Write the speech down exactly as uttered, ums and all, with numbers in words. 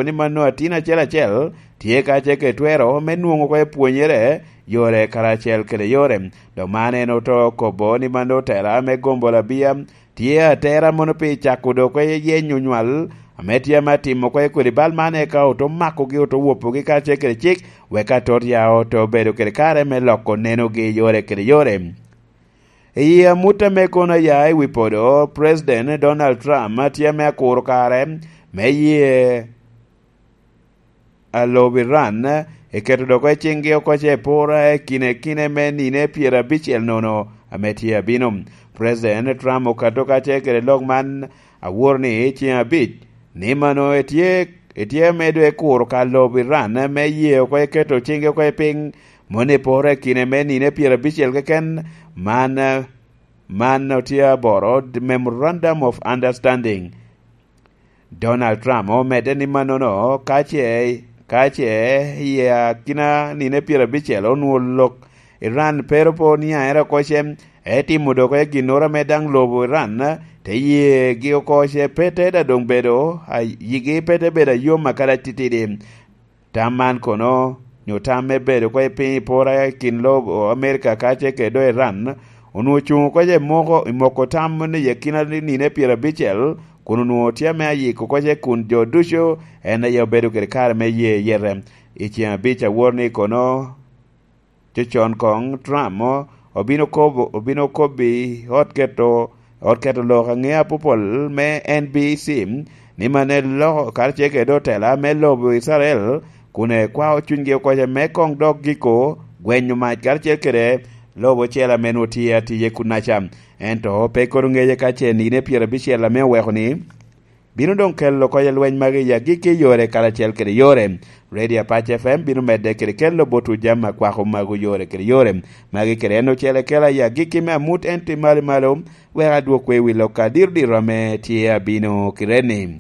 ni mano atin acel acel tye ka ce ke twero me nwoŋo oko epwonyere yore karacel kede yore. Dok man en oto kobo ni mano tela me gombo labia tye atera mono pi cako dok oko yenyo nywal ame tye ame atimo oko kodi bal man, eka oto makogi, oto wopogi karacel kede cik, wek atot ya oto bedo kede kare me loko nenogi yore kede yore. I amut ame kono aya i wi podo, President Donald Trump tye ame akuro kare me ye alobo Iran eketo dok i ciŋgi oko ce pora i kine kine me nine pyerabicel nono ame tye abino. President Trump okato ka ce kede lok man awor ni i ciŋ abic, ni mano etye, etye medo ekuro ka lobo Iran me ye oko eketo ciŋgi oko i piny, moni poro i kine me nine pyerabicel keken. Man, man otye aboro Memorandum of Understanding. Donald Trump omedde ni mannono ka ce, ka ce i akina nine pyerabicel onwoŋo lok Iran pe ru po niaŋere oko ce, etimo dok i ginnoro ame daŋ lobo Iran te yegi oko ce pe te daŋ doŋ bedo, a, yigi pe te bedo ayom akadi atitidi. Tam man kono, nyo tam me bedo oko i piny i pora i kin lobo Amerika ka ce kede do Iran, onwoŋo cuŋ oko ce moko, i moko tam ni i akina nine pyerabicel, kun onwoŋo tye ame ayiko oko ce kun jo ducu en aye obedo kede kare me ye yete. I ciŋ abic awor ni kono, cocon koŋ Trump obino kobo, obino kobbi ot keto, ot keto lok aŋe apopol me N B C, ni mano eloko karacel kede otela me lobo Icrael, kun ekwao cunygi oko ce me koŋ dok giko gwenyo mac karacel kede lobo ocel ame nwoŋo tye atiye kunnaca. Ento pe kono ŋeye ka ce nine pyerabicel ame oweko ni, bino doŋ kelo oko lweny magi i agikki yore karacel kede yore. Radio Apac F M bino medde kede kelo botwu jami akwako magu yore kede yore. Magi kede en ocele kela i agikki me amut ento i malo i malo, wek adwokwu i wi lok adiro diro ame tye abino kite-ni.